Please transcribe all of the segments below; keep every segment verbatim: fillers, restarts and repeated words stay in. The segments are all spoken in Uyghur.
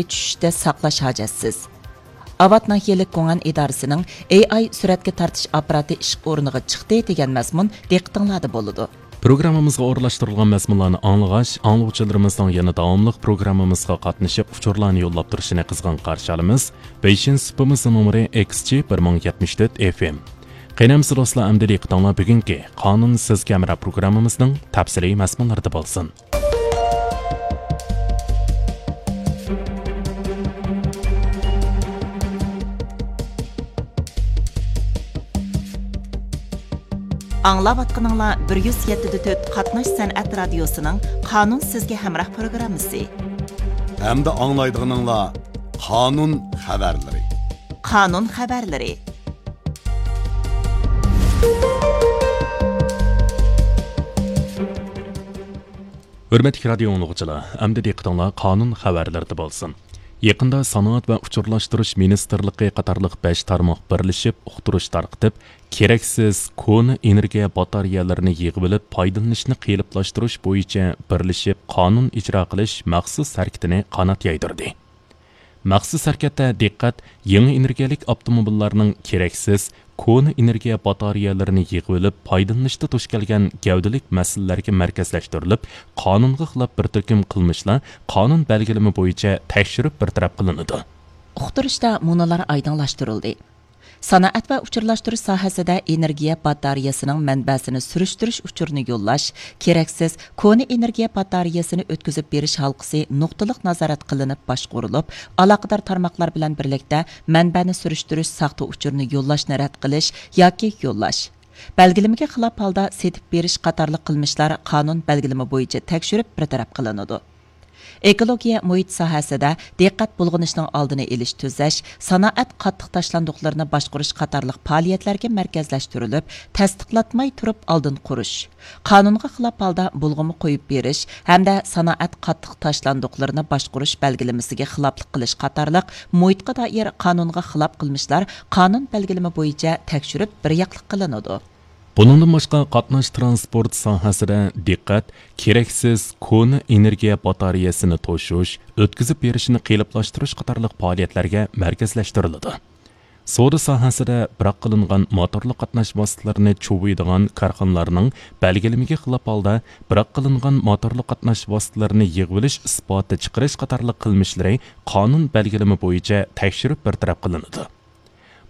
چۈشۈشتە ساقلاش ھاجەتسىز. ئاۋات ناھىيەلىك گۇڭئەن ئىدارىسىنىڭ ئېي ئاي سۈرەتكە تارتىش ئاپپاراتى ئىش ئورنىغا چىقتى دېگەن مەزمۇن دىققىتىڭلاردا بولىدۇ. پروگراممىمىزغا ئورۇنلاشتۇرۇلغان مەزمۇنلارنى ئاڭلىغاچ، ئاڭلىغۇچىلىرىمىزنىڭ يەنە داۋاملىق پروگراممىمىزغا قاتنىشىپ، ئۇچۇرلارنى يوللاپ تۇرۇشىنى قىزغىن قارشى ئالىمىز. بېيجىڭ سۇپىمىز نومۇرى ئېكس جى بىر مىڭ يەتمىش تۆت ئېف ئېم. قېنى ئەمىسە دوستلار، ئەمدى دىققىتىڭلار بۈگۈنكى قانۇن سىزگە ھەمراھ پروگراممىمىزنىڭ تەپسىلىي مەزمۇنلىرىدا بولسۇن. ئاڭلاۋاتقىنىڭلار بىر يۈز يەتتە دە تۆت قاتناش سەنئەت رادىيوسىنىڭ قانۇن سىزگە ھەمراھ پروگراممىسى. ئەمدى ئاڭلايدىغىنىڭلار قانۇن خەۋەرلىرى. قانۇن خەۋەرلىرى. ھۆرمەتلىك رادىيو ئاڭلىغۇچىلار، ئەمدى دىققىتىڭلار قانۇن خەۋەرلىرىدە بولسۇن. يېقىندا سانائەت ۋە ئۇچۇرلاشتۇرۇش مىنىستىرلىقى قاتارلىق بەش تارماق بىرلىشىپ ئۇقتۇرۇش تارقىتىپ، كېرەكسىز كونا ئېنېرگىيە باتارېيەلىرىنى يىغىۋېلىپ پايدىلىنىشنى قېلىپلاشتۇرۇش بويىچە بىرلىشىپ قانۇن ئىجرا قىلىش مەخسۇس ھەرىكىتىنى قانات يايدۇردى. مەخسۇس ھەرىكەتتە دىققەت يېڭى ئېنېرگىيەلىك ئاپتوموبىللارنىڭ كېرەكسىز كونا ئېنېرگىيە باتارېيەلىرىنى يىغىۋېلىپ پايدىلىنىشتا دۇچ كەلگەن گەۋدىلىك مەسىلىلەرگە مەركەزلەشتۈرۈلۈپ، قانۇنغا خىلاپ بىر تۈركۈم قىلمىشلار قانۇن بەلگىلىمە بويىچە تەكشۈرۈپ بىر تەرەپ قىلىنىدۇ. ئۇقتۇرۇشتا مۇنۇلار ئايدىڭلاشتۇرۇلدى. سانائەت ۋە ئۇچۇرلاشتۇرۇش ساھەسىدە ئېنېرگىيە باتارېيەسىنىڭ مەنبەسىنى سۈرۈشتۈرۈش ئۇچۇرىنى يوللاش، كېرەكسىز كونا ئېنېرگىيە باتارېيەسىنى ئۆتكۈزۈپ بېرىش ھالقىسى نۇقتىلىق نازارەت قىلىنىپ باشقۇرۇلۇپ، ئالاقىدار تارماقلار بىلەن بىرلىكتە مەنبەنى سۈرۈشتۈرۈش ساختا ئۇچۇرىنى يوللاشنى رەت قىلىش ياكى يوللاش، بەلگىلىمىگە خىلاپ ھالدا سېتىپ بېرىش قاتارلىق قىلمىشلار قانۇن بەلگىلىمە بويىچە تەكشۈرۈپ بىر تەرەپ قىلىنىدۇ. ئېكولوگىيە مۇھىت ساھەسىدە دىققەت بۇلغىنىشنىڭ ئالدىنى ئېلىش، تۈزەش، سانائەت قاتتىق تاشلاندۇقلىرىنى باشقۇرۇش قاتارلىق پائالىيەتلەرگە مەركەزلەشتۈرۈلۈپ، تەستىقلاتماي تۇرۇپ ئالدىن قۇرۇش، قانۇنغا خىلاپ ھالدا بۇلغىما قويۇپ بېرىش ھەمدە سانائەت قاتتىق تاشلاندۇقلىرىنى باشقۇرۇش بەلگىلىمىسىگە خىلاپلىق قىلىش قاتارلىق مۇھىتقا دائىر قانۇنغا خىلاپ قىلمىشلار قانۇن بەلگىلىمە بويىچە تەكشۈرۈپ بىر ياقلىق قىلىنىدۇ. بۇنىڭدىن باشقا، قاتناش ترانسپورت ساھەسىدە دىققەت كېرەكسىز كونا ئېنېرگىيە باتارېيەسىنى توشۇش، ئۆتكۈزۈپ بېرىشنى قېلىپلاشتۇرۇش قاتارلىق پائالىيەتلەرگە مەركەزلەشتۈرۈلىدۇ. سودا ساھەسىدە بىراق قىلىنغان موتورلۇق قاتناش ۋاسىتىلىرىنى چۇۋۇيدىغان كارخانىلارنىڭ بەلگىلىمىگە خىلاپ ھالدا بىراق قىلىنغان موتورلۇق قاتناش ۋاسىتىلىرىنى يىغىۋېلىش ئىسپاتى چىقىرىش قاتارلىق قىلمىشلىرى قانۇن بەلگىلىمە بويىچە تەكشۈرۈپ بىر تەرەپ قىلىنىدۇ.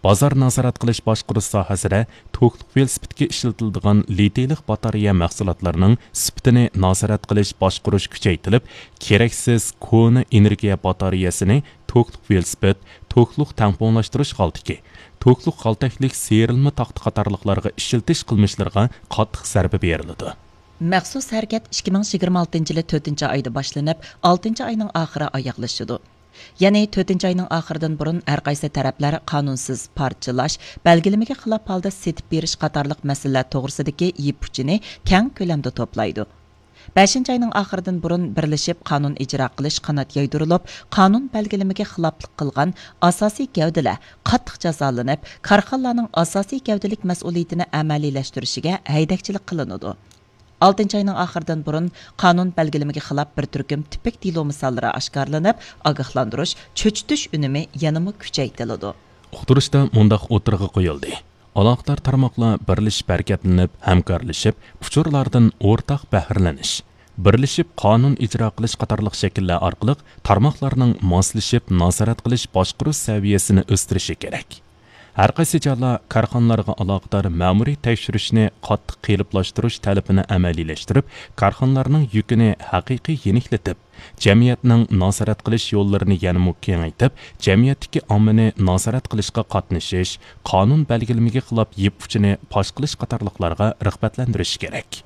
بازار نازارەت قىلىش باشقۇرۇش ساھەسىدە توكلۇق ۋېلىسىپىتكە ئىشلىتىلىدىغان لىتىيلىق باتارېيە مەھسۇلاتلىرىنىڭ سۈپىتىنى نازارەت قىلىش باشقۇرۇش كۈچەيتىلىپ، كېرەكسىز كونا ئېنېرگىيە باتارېيەسىنى توكلۇق ۋېلىسىپىت، توكلۇق تەڭپۇڭلاشتۇرۇش غالتىكى، توكلۇق غالتەكلىك سىيرىلما تاختا قاتارلىقلارغا ئىشلىتىش قىلمىشلىرىغا قاتتىق زەربە بېرىلىدۇ. مەخسۇس ھەرىكەت ئىككى مىڭ يىگىرمە ئالتىنچى يىلى تۆتىنچى ئايدا باشلىنىپ، ئالتىنچى ئاينىڭ ئاخىرى ئاياغلىشىدۇ. يەنى تۆتىنچى ئاينىڭ ئاخىرىدىن بۇرۇن ھەرقايسى تەرەپلەر قانۇنسىز پارچىلاش، بەلگىلىمىگە خىلاپ ھالدا سېتىپ بېرىش قاتارلىق مەسىلىلەر توغرىسىدىكى يىپ ئۇچىنى كەڭ كۆلەمدە توپلايدۇ. بەشىنچى ئاينىڭ ئاخىرىدىن بۇرۇن بىرلىشىپ قانۇن ئىجرا قىلىش قانات يايدۇرۇلۇپ، قانۇن بەلگىلىمىگە خىلاپلىق قىلغان ئاساسىي گەۋدىلەر قاتتىق جازالىنىپ، كارخانىلارنىڭ ئاساسىي گەۋدىلىك مەسئۇلىيىتىنى ئەمەلىيلەشتۈرۈشىگە ھەيدەكچىلىك قىلىنىدۇ. ئالتىنچى ئاينىڭ ئاخىرىدىن بۇرۇن قانۇن بەلگىلىمىگە خىلاپ بىر تۈركۈم تىپىك دېلو مىساللىرى ئاشكارىلىنىپ، ئاگاھلاندۇرۇش، چۆچۈتۈش ئۈنۈمى يەنىمۇ كۈچەيتىلىدۇ. ئۇقتۇرۇشتا مۇنداق ئوتتۇرىغا قويۇلدى: ئالاقىدار تارماقلار بىرلىشىپ ھەرىكەتلىنىپ، ھەمكارلىشىپ، ئۇچۇرلاردىن ئورتاق بەھرىلىنىش، بىرلىشىپ قانۇن ئىجرا قىلىش قاتارلىق شەكىللەر ئارقىلىق تارماقلارنىڭ ماسلىشىپ نازارەت قىلىش باشقۇرۇش سەۋىيەسىنى ئۆستۈرۈشى كېرەك. ھەرقايسى جايلار كارخانىلارغا ئالاقىدار مەمۇرىي تەكشۈرۈشنى قاتتىق قېلىپلاشتۇرۇش تەلىپىنى ئەمەلىيلەشتۈرۈپ، كارخانىلارنىڭ يۈكىنى ھەقىقىي يېنىكلىتىپ، جەمئىيەتنىڭ نازارەت قىلىش يوللىرىنى يەنىمۇ كېڭەيتىپ، جەمئىيەتتىكى ئاممىنى نازارەت قىلىشقا قاتنىشىش، قانۇن بەلگىلىمىگە خىلاپ يىپ ئۇچىنى پاش قىلىش قاتارلىقلارغا رىغبەتلەندۈرۈش كېرەك.